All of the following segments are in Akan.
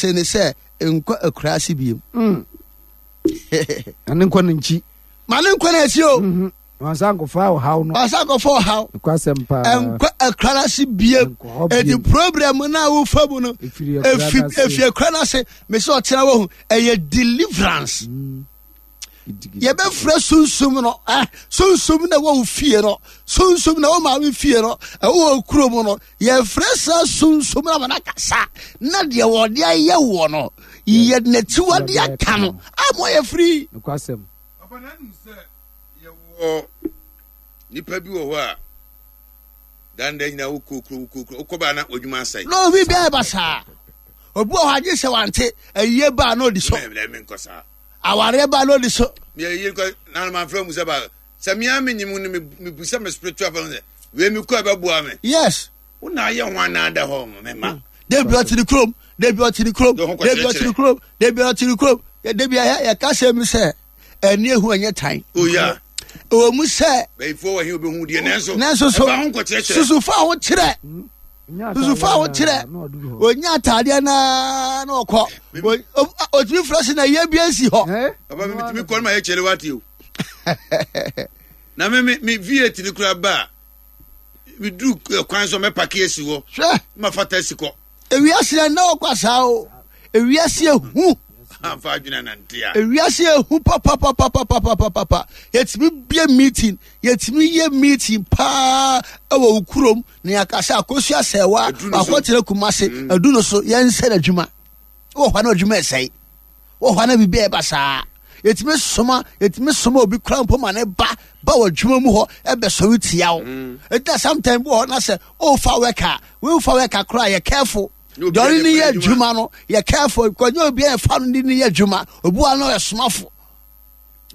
Se ne sɛ nkɔ akuraase biem. Na ne nkɔ ne nkyi. Ma ne nkɔ n'akyi o. Mhm. Wansa nkɔfa ɔhaw no. Wansa nkɔfa ɔhaw. Nokwasɛm paa. Nkɔ akuraase biem. Eti problem na wofa mu no. Efiri akura n'ase. Mesi ɔtena wɔ ho. Ɛyɛ deliverance. Mm. Yɛbɛfrɛ sunsum no. Eh, sunsum na ɛwɔ wo fie no. Sunsum na ɛwɔ maame fie no. Ɛwɔ wɔ kurom no. Yɛfrɛ saa sunsum na wɔn akasa. Na deɛ wɔde ayɛ wɔ no. Yɛ n'akyiwade aka no. Ama yɛ firi. Nokwasɛm. Papa na nim sɛ yɛwɔ nipa bi wɔ hɔ a danda nyinaa wokɔ kuro wokɔ kuro wokɔ baa na w'adwuma asɛe. Na obi bɛɛ ba saa. Obi wɔ hɔ agye sɛ wante ayie baa na odi so. Mɛ menkɔ saa. Awareɛ baa na odi so. Mɛ ayie nkɔ na manfrɛ mu sɛ ba sɛ mea menyim no mebu sɛ me spiritual fam sɛ wei mekɔ ɛbɛboa me. Yes. Wo na ayɛ ho anaa da hɔ mema. Dabi ɔte ne kurom, dabi ɔte ne kurom, dabi ɔte ne kurom, dabi ɔte ne kurom. Dabi yɛka sɛ mu sɛ ɛne ehu ɛnyɛ tan. Oh yeah. Ɛwɔ mu sɛ. Bɛyifoɔ wɔ he obehu deɛ nanso. Nanso so ɛfa ho nkɔkyerɛkyerɛ. Susu fa ho kyerɛ. Susu fa ho kyerɛ. Onya ataadeɛ naa na ɔkɔ. Otumi fura si na yie bi esi hɔ. Papa mi tumi kɔ no ma yɛ kyɛlɛ wate o. Na me me me V8 ni kura ba a mi duru kwan so mɛ paki esi hɔ. Hwɛ. Ma fa taxi kɔ. Ewiase yɛ nna ɔkwa saa o. Ewiase ehu. Amfa adwene anante a. Ewiase ehu papapapapapapapa. Yɛtumi bie meeting, yɛtumi yɛ meeting paa ɛwɔ wo kurom na yɛaka sɛ akosua sɛwa wakɔtena Kumase adu no so yɛnsɛ n'adwuma. Wɔ hɔ na adwuma ɛsɛe. Wɔ hɔ na biribi ɛba saa. Yɛtumi soma, yɛtumi soma obi kura mpo ma ne ba ba wɔ adwuma mu hɔ ɛbɛsɔre tia wo. Ɛnti sometimes bi wɔ hɔ na sɛ ɔfa wɛka, wofa wɛka koraa yɛ careful. Deɛ ɔne ne yɛ adwuma no yɛ careful because nyɛ obi a yɛfa no ne ne yɛ adwuma. Obi wa no yɛ somafo.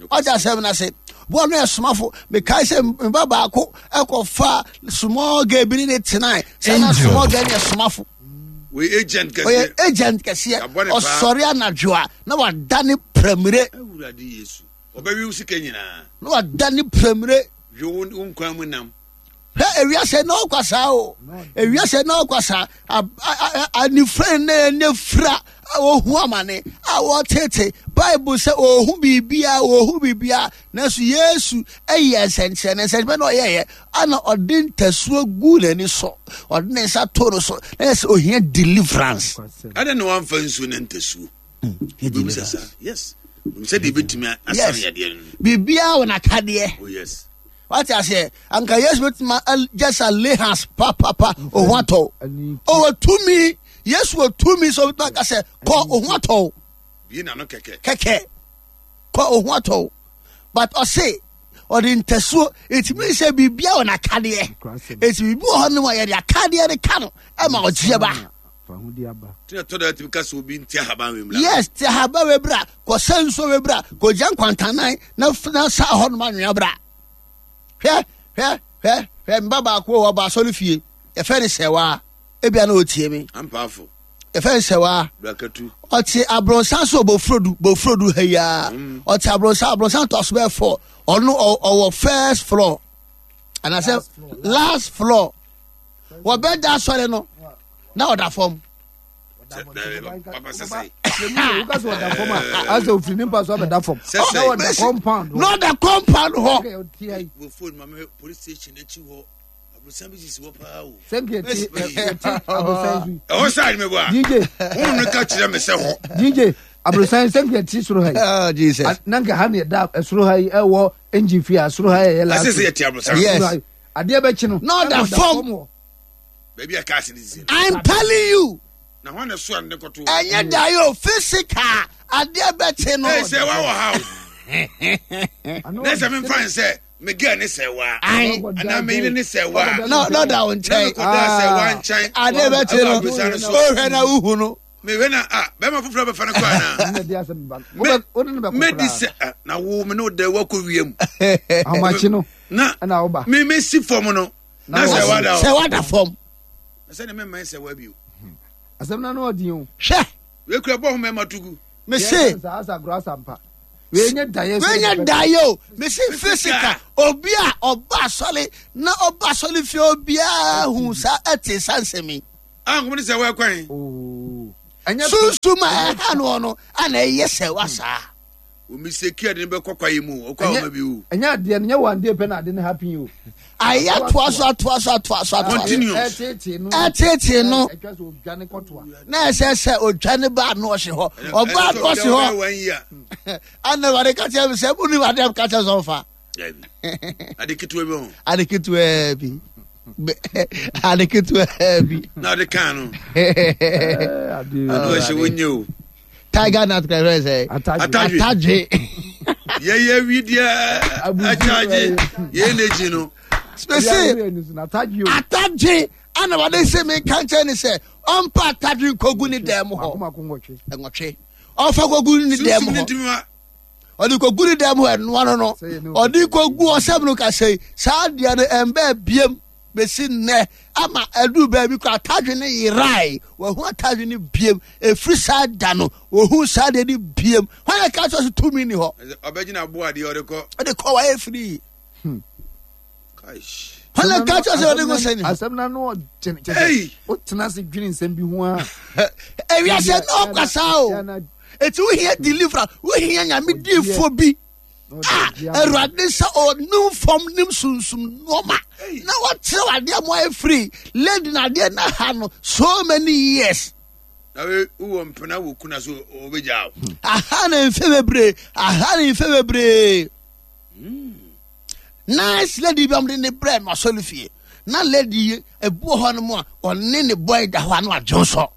Ɔgye asɛm no ase. Obi wa no yɛ somafo. Mekae sɛ mba baako ɛkɔfa small girl bi ne ne tenae. Sɛ na small girl no yɛ somafo. Wɔyɛ agent kɛseɛ. Ɔyɛ agent kɛseɛ. Ɔsɔre anadwo a na wada ne pramire. Awurade Yesu. Ɔbɛwe wo sika nyinaa. Na wada ne pramire. Hwɛ wo nkwan mu nam. Hwɛ ewiase na ɔkwa saa o. Ewiase na ɔkwa saa. Anifere na ɛne fira a wɔhu amane a wɔtete. Bible sɛ ɔhu biribiara, ɔhu biribiara. Nanso Yesu ɛyɛ nsɛnkyerɛnne, nsɛnkyerɛnne na ɔyɛyɛ. Ana ɔde ntasuo gu n'ani so. Ɔde ne nsa to no so. Na yɛ sɛ ohia deliverance. Adɛn na wamfa nsuo ne ntasuo? Deliverance. Yes. Sɛ deɛ ebetumi asan yadeɛ no. Biribiara wɔ n'akadeɛ. Oh yes. Wate aseɛ? Anka Yesu bɛtumi just a lay hands papapa oho atɔ. Ɔwɔ tumi. Yesu wɔ tumi sɛ ɔbɛtumi aka sɛ kɔ oho atɔ. Bie n'ano kɛkɛ. Kɛkɛ. Kɔ oho atɔ. But ɔse ɔde ntasuo ɛtumi sɛ biribiara wɔ n'akadeɛ. Ɛti biribi wɔ hɔ nom a yɛde akadeɛ no ka no ɛma ɔgyeɛ ba. Yes, te ahaban wei bra, kɔsɛ nsuo wei bra, kɔgya nkwantanan na na sa hɔ nom anwea bra. Hwɛ, hwɛ, hwɛ, hwɛ, mba baako wɔ ɔba asɔre fie, yɛfɛ ne sɛwaa, ebia na ɔtie me. Ampaafo. Yɛfɛ ne sɛwaa. Brakatu. Ɔte abrɔnsan so bofrodu, bofrodu ha yi ara. Ɔte abrɔnsan, abrɔnsan to aso bɛyɛ fɔ. Ɔno ɔwɔ first floor. Anaasɛ last floor. Wɔbɛda asɔre no. Na ɔda fam. Na ɔda compound hɔ. Ɛhɔ saa ni mebɔ a. DJ. Wɔn no ka kyerɛ me sɛ hɔ. DJ aborosan sɛ nka ti soro ha yi. Oh Jesus. Na nka ha na ɛda soro ha yi ɛwɔ engine fi a soro ha yɛ last. Asese yɛ ti aborosan. Yes. Adeɛ bɛkyi no. Na ɔda fam. Baabi a cars ni sisi. I'm telling you. Na hɔn na so ne kɔto. Ɛnyɛ da yi o physical adeɛ bɛkyi no. Ɛ sɛ wa wɔ ha o. Ne sɛ mi nfa nsɛ me girl ne sɛ wa. Anaa me yere ne sɛ wa. Na na ɔda wo nkyɛn. Na me kɔ da sɛ wa nkyɛn. Adeɛ bɛkyi no ohwɛ na uhu no. Mehwɛ na a bɛrima foforɔ bɛfa no kɔ anaa. Mɛdi sɛ na wo me ne wo dɛ wakɔ wiem. Ahomakye no. Na me mesi fam no. Na sɛ wada sɛ wada fam. Na sɛ ne mɛmma sɛ wa bio. Asɛm na no ɔden o. Hwɛ. Wekura bɔ ho mɛma tugu. Mese. Wenya daeɛ. Wenya daeɛ o. Mese physical obi a ɔba asɔre na ɔba asɔre fie obiara hu saa ɛte saa nsɛm yi. A nkɔmɔ ne sɛ wɔakwan. Sunsum a ɛha no no ana ɛyɛ sɛ wa saa. Omi se kia de ne bɛkɔ kwaeɛ mu ɔkɔ a ɔma bi o. Ɛnyɛ adeɛ no nyɛ one day pɛ na ade no happen o. Ayɛ atoa so atoa so atoa so atoa so. Continuous. Ɛtetee no. Ɛtwa sɛ odwane kɔtoa. Na ɛsɛ sɛ odwane ba ano ɔhye hɔ. Ɔba ano ɔhye hɔ. Ana awurade ka kyerɛ mi sɛ mo nim adeɛ ka kyerɛ sɛ ɔfa. Ade ketewa bi ho. Ade ketewa bi. Ade ketewa bi. Na ɔde kan no. Ano ɔhyɛ wonye o. Tiger nut kura fɛn sɛ. Atadwe. Atadwe. Yɛyɛ wi deɛ akyagye yɛn n'akyi no. Spese atadwe ana wɔde se mi nka nkyɛn ne sɛ ɔmpa atadwe nkogu ne dan mu hɔ. Nwɔtwe. Ɔfa kogu ne dan mu hɔ. Ɔde kogu ne dan mu hɔ ɛnoa no no. Ɔde kogu ɔsɛm no kasa yi saa deɛ no ɛmbɛ biem bɛsi nnɛ ama ɛduru baabi kɔ atadwe no yerae wahu atadwe no biem ɛfiri saa da no wɔhu saa deɛ no biem hwan na ka kyerɛ so tumi ni hɔ ɔbɛgyina aboa adeɛ ɔde kɔ ɔde kɔ wayɛ firi hwan na ka kyerɛ sɛ ɔde kɔ sɛ ni hɔ asɛm na no ɔgyene kyɛ sɛ wotena ase dwene nsɛm bi ho a ewiase na ɔkasa o eti wohia deliverer wohia nyame diifoɔ bi a awurade sɛ ɔnim fam nim sunsum nneɛma na wɔkyerɛw adeɛ mo ayɛ firi lady na adeɛ na ha no so many years. na wowɔ mpena wɔ kuna so ɔbɛgya wo. Aha na mfe bebree aha na mfe bebree nice lady bi a wɔde ne brɛ no asɔre fie na lady yi ebu wɔ hɔ no mu a ɔne ne boy da hɔ ano adwonsɔ.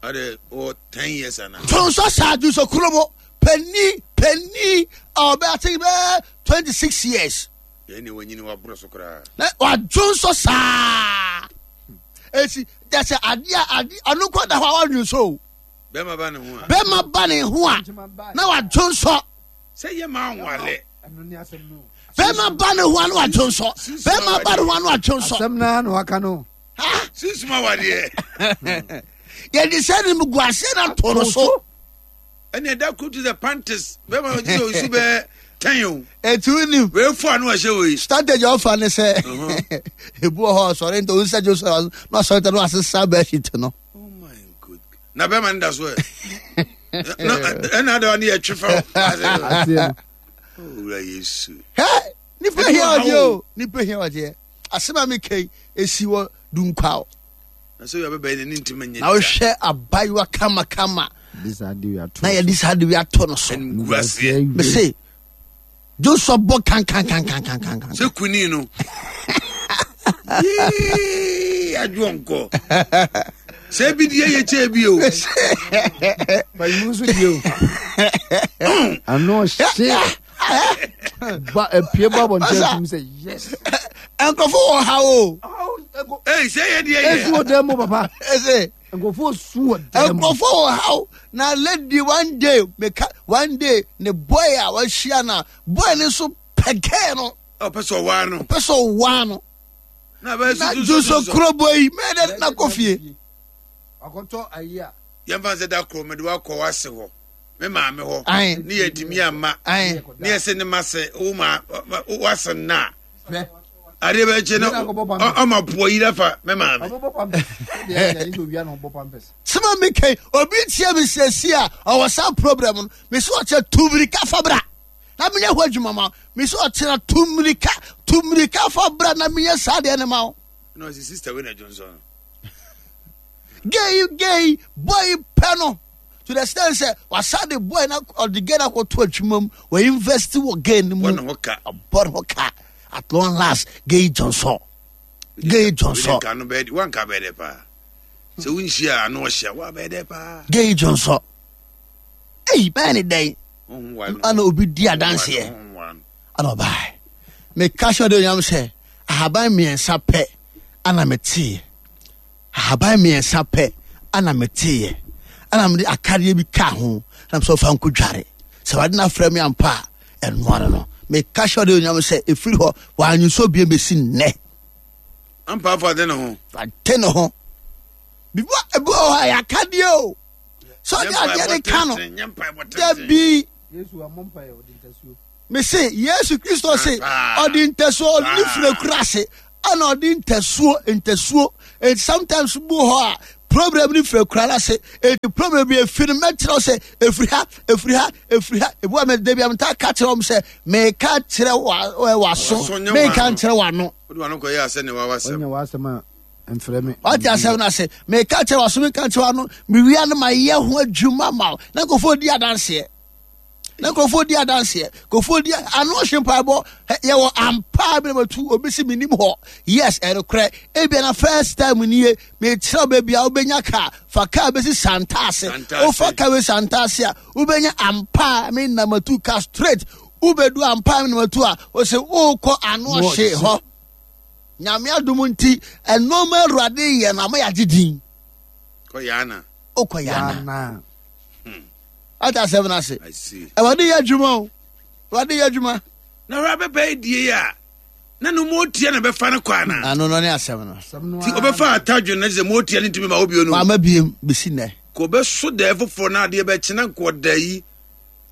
Ɔde wɔ 10 years ana. Dwonsɔ saa dwonsɔ kurobo. Panyin panyin a ɔbɛ ate bɛɛ 26 years. Yɛn ni wanyini waboro so koraa. Na wadwo nso saa. Esi kyɛ sɛ adeɛ a adeɛ ɔno kɔ da hɔ a wadwo nso o. Bɛrima ba ne ho a. Bɛrima ba ne ho a na wadwo nso. Sɛ yɛ maa nwale. Bɛrima ba ne ho a na wadwo nso. Bɛrima ba ne ho a na wadwo nso. Asɛm naa na waka no. Sunsum awadeɛ. Yɛde sɛ ne mu gu aseɛ na to no so. Ɛne ɛda koro te sɛ panties bɛma ɔgye sɛ ɔsu bɛɛ tɛn o. Etu nim. Wei fo ano ɛhyɛ wei. Strategy ɔfa ne sɛ ebu wɔ hɔ ɔsɔre nta ɔnsa gye ɔsɔre na ɔsɔre nta na wasesa bɛhyit no. Oh my god. Na bɛma no da so ɛ. Na ɛna adawa ne yɛ twe fa. Owura Yesu. Hɛ nipa hia ɔgye o nipa hia ɔgye asɛm a mi kɛn esi wɔ dunkwa o. Na sɛ yɛ bɛbɛn n'ani ntumi nyɛ. Na wohwɛ abayewa kamakama. Na yɛde saa de wi ato no so. Mese Joshua bɔ kankankankankankan. Sɛ kuni no. Adwo nkɔ. Sɛ ebi deɛ yɛ kyɛ bi o. Bayimu nso deɛ o. Ano ɔhye. Ba epie ba abɔnten atum sɛ yes. Nkurɔfo wɔ ha o. Ee sɛ yɛ deɛ yɛ. Esu wɔ dan mu papa. Ese. Nkurɔfo su wɔ dan mu. Nkurɔfo wɔ ha o. Na lady one day meka one day ne boy a wahyia na boy ne nso pɛgɛɛ no. Ɔpɛ sɛ ɔwaa no. Ɔpɛ sɛ ɔwaa no. Na bɛ Na juso kuro boy yi mɛ dɛ na kɔ fie. Akɔtɔ ayi a. Yɛn fa sɛ da koro mɛ de wakɔ wase hɔ. Me maame hɔ. Ne yɛ ntumi ama. Ne yɛ sɛ ne ma sɛ wo ma wase nna. Adeɛ bɛ kye no ɔma poɔ yi afa me maame. Sɛma mi kɛn obi tia mi sɛsi a ɔwɔ saa problem no mi sɛ ɔkyɛ tu mirika fa bra na mi nyɛ hɔ adwuma ma mi sɛ ɔkyerɛ tu mirika tu mirika fa bra na mi nyɛ saa deɛ ne ma wo. Na ɔsi sista wei na dwonsɔn no. Gay gay boy pɛ no. To the extent sɛ wasa de boy na ɔde gay na akɔto adwuma mu wɔ invest wɔ gay no mu. Bɔ ne ho ka. Bɔ ne ho ka at long last gay Johnson. Gay Johnson. Wanka no bɛyɛ wanka bɛyɛ dɛ paa. Sɛ wonhyia ano ɔhyia wa bɛyɛ dɛ paa. Gay Johnson. Eyi bɛyɛ ne dɛn? Ana obi di adanseɛ. Ana ɔbaa. Meka hyɛ ɔde onyam sɛ ahaban mmiɛnsa pɛ ana meteeɛ. Ahaban mmiɛnsa pɛ na meteeɛ, ɛna mede akadeɛ bi kaa ho, na mesɛ ɔfa nkɔdware. Sɛ Awurade no afrɛ me ampa a, ɛno ano no. Meka hyɛ ɔde onyam sɛ ɛfiri hɔ, wɔanwonsɔ bio bɛsi nnɛ. Ampa afa ade ne ho. Ade ne ho. Bibi ebi wɔ hɔ a yɛ akadeɛ o. Sɛ ɔde adeɛ ne ka no. Dabi. Mese Yesu Kristo se ɔde ntasuo ɔde ne firi akura ase ɛna ɔde ntasuo ntasuo and sometimes bu hɔ a Problem no firi akura no ase. Enti problem bi efi no mɛkyerɛ wo sɛ efiri ha, efiri ha, efiri ha. Ebi wa mɛ dabi a metaa ka kyerɛ wɔn sɛ meka kyerɛ w'aso, menka nkyerɛ w'ano. Wode w'ano kɔyɛ asɛ ne w'asɛm. Ɔnyɛ w'asɛm a mfrɛ me. Wate asɛm no ase. Meka kyerɛ w'aso, menka nkyerɛ w'ano. Mewia no mayɛ ho adwuma ma wo. Na nkurɔfoɔ di adanseɛ. Na nkurɔfoɔ di adanseɛ. Nkurɔfoɔ di ano hye mpaebɔ. Yɛwɔ ampa bi na matu obi si menim hɔ. Yes, ɛnokorɛ. Ebia na first time nie. Mekyerɛ wo baabi a wobɛnya kaa. Fa kaa bɛsi Santase. Wofa kaa bɛsi Santase a, wobɛnya ampa me na matu kaa straight. Wobɛdu ampa me na matu a, wose wokɔ ano hye hɔ. Nyame adom nti, ɛnɔɔma Awurade yɛ no ama yɛagye din. Kɔ Yana. Wokɔ Yana. Ate asɛm no ase. Awurade yɛ adwuma o. Awurade yɛ adwuma. Na hwɛ abɛbɛ die a na no motia na bɛfa no kɔ ana. Ano no ne asɛm no. Ti ɔbɛfa atadwe na sɛ motia no ntumi ma wo bio no. Wama biem bɛsi nnɛ. Kò bɛso dɛɛ foforɔ na adeɛ bɛkye na nko ɔda yi.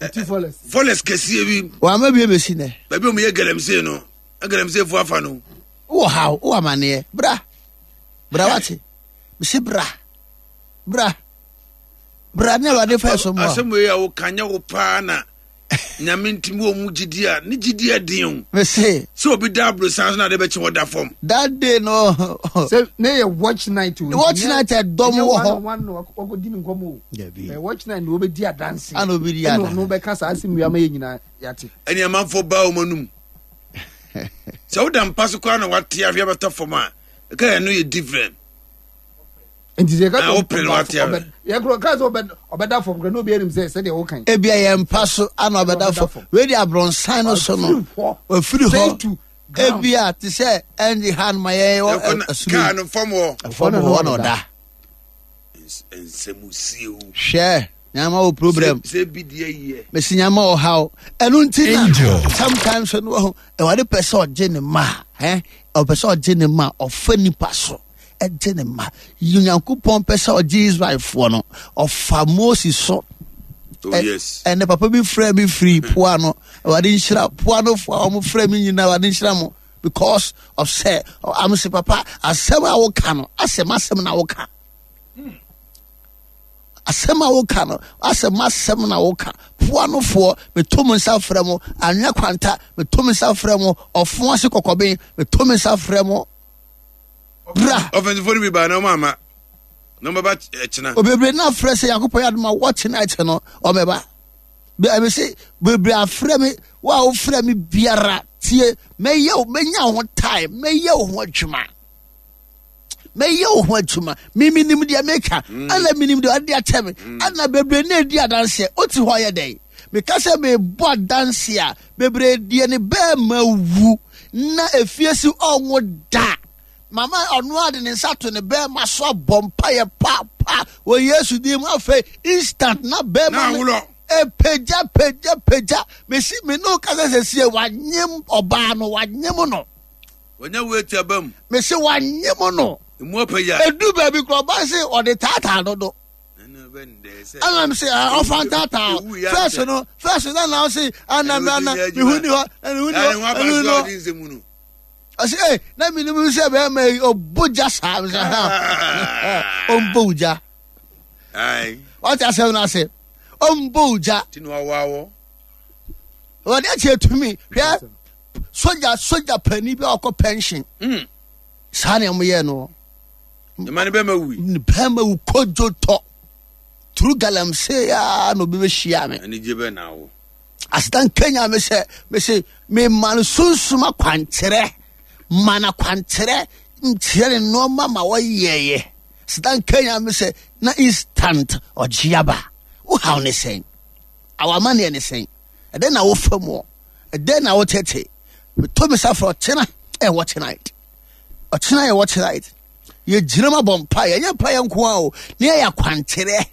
Fɔlɛs kɛseɛ bi. Wama biem bɛsi nnɛ. Baabi a wɔyɛ galamsey no, galamsey fo afa no. Wowɔ haw, wowɔ amaneɛ. Bra. Bra wate. Mesi bra. Bra. Bra ne Awurade fa ɛso mmoa. Asɛm wei a woka nyɛ wo paa na nyame ntimi wɔ mu gyidi a ne gyidi ɛden o. Mese. Sɛ obi da aborosan so na ade bɛkye hɔ da fam. That day no. Sɛ ne yɛ watch night o. Watch night ɛdɔm wɔ hɔ. Ɛnyɛ one one wakɔ di ne nkɔmɔ o. Dabi. Ɛ watch night na wɔbɛdi adanse. Ana obi di adanse. Ɛna ɔno bɛka saa asɛm wia ma yɛ nyinaa yate. Ɛne amanfoɔ baa wɔn anum. Sɛ woda mpa so koraa na wate ahwe abɛtɔ fam a ɛka yɛn no yɛ different. Nti sɛ yɛka sɛ wopere no wate ahwe. Yɛkorɔ ka sɛ ɔbɛda fam kora na obi anim sɛ sɛdeɛ wokan. Ebia yɛn mpa so ana ɔbɛda fam. Wei de abrɔnsan no so no. Wafiri hɔ. Ebia te sɛ ɛnde ha no ma yɛn wɔ ɛsoro. Kaa no fam hɔ. Fam hɔ na ɔda. Nsɛm sie o. Hwɛ nyama wɔ problem. Sɛ bi deɛ yɛ. Mesi nyama wɔ ha o. Ɛno nti na sometimes no wɔ ɛwade pɛ sɛ ɔgye ne ma ɛ ɔpɛ sɛ ɔgye ne ma ɔfa nipa so ɛgye ne ma. Onyankopɔn pɛ sɛ ɔgye Israelfoɔ no ɔfa Moses so. Oh, yes. Ɛnɛ papa bi frɛ mi firi poa no awurade nhyira poa no fo a wɔn frɛ mi nyinaa awurade nhyira mo because of sɛ am sɛ papa asɛm a woka no asɛm asɛm na woka asɛm a woka no asɛm asɛm na woka poa no foɔ meto mo nsa frɛ mo anwea kwanta meto me nsa frɛ mo ɔfo ase kɔkɔben meto me nsa frɛ mo bra. Ɔfɛnsifo no bi baa na ɔmo ama na ɔmo bɛba ɛkyena. Obebree na afrɛ sɛ Nyankopɔn yɛ adom a wɔkye night no ɔmɛba. Ɛmi se bebree afrɛ me wo a wofrɛ me biara tie mɛyɛ wo mɛnya wo ho time mɛyɛ wo ho adwuma mɛyɛ wo ho adwuma mimi nim deɛ meka ɛna minim deɛ ɔde akyɛ me ɛna bebree na edi adanseɛ wote hɔ yɛ dɛn meka sɛ mebɔ adanseɛ a bebree deɛ ne bɛɛma wu na efie si ɔnwo da mama ɔno ade ne nsa to ne bɛɛma so abɔ mpaeɛ pa pa wɔ Yesu din mu afei instant na bɛɛma no epagya pagya pagya mesi me ne kasa sɛsie wanyem ɔbaa no wanyem no wanya wo eti aba mu mesi wanyem no emu apagya edu baabi kora ɔbaa se ɔde taataa dodo ɛna mi sɛ ɔfa ntaataa fɛs no fɛs no na ɔse ɛna mi ɛna mihu ni hɔ ɛna mihu ni hɔ ɛna mihu ni hɔ ɔse ee na mi nim sɛ bɛrima yi ɔbɔ gya saa mi sɛ ha ɔmbɔ gya ɔte asɛm no ase ɔmbɔ gya ɔde akyɛ tumi hwɛ sogya sogya panin bi a ɔkɔ pension saa na wɔyɛ no. Ɛma ne bɛma wui. Ne bɛma wu kodwo tɔ. Turu galamsey a na obi bɛhyia me. Anigye bɛ na wo. Aseda nkenya me sɛ me se me ma no sunsum akwankyerɛ ma no akwankyerɛ nkyerɛ ne nneɛma ma wɔyɛyɛ. Aseda nkenya me sɛ na instant ɔgye aba. Wo haw ne sɛn? Awamaneɛ ne sɛn? Ɛdɛn na wofa mu? Ɛdɛn na wotete? Meto me sa frɛ ɔkyena ɛwɔ tonight. Ɔkyena yɛ watch night. Yɛgyina mu abɔ mpaeɛ. Ɛnyɛ mpaeɛ nko ara o. Ne yɛyɛ akwankyerɛ.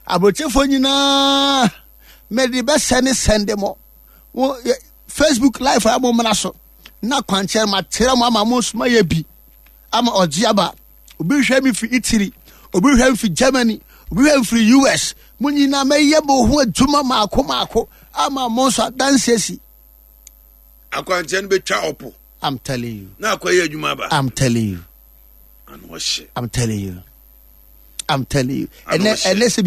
Aburokyefoɔ nyinaa mede bɛsɛ ne sɛnde mo. Wo Facebook live a mo mmra so. Na akwankyerɛ ma kyerɛ mo ama mo nso mayɛ bi. Ama ɔgye aba. Obi hwɛ me firi Italy. Obi hwɛ me firi Germany. Obi hwɛ me firi US. Mo nyinaa mɛyɛ mo ho adwuma maako maako ama mo nso adanse asi. Akwankyerɛ no bɛtwa ɔpo. I'm telling you. Na akɔyɛ adwuma aba. I'm telling you. Ano ɔhyɛ. I'm telling you. I'm telling you. Ɛnɛ ɛnɛ sɛ.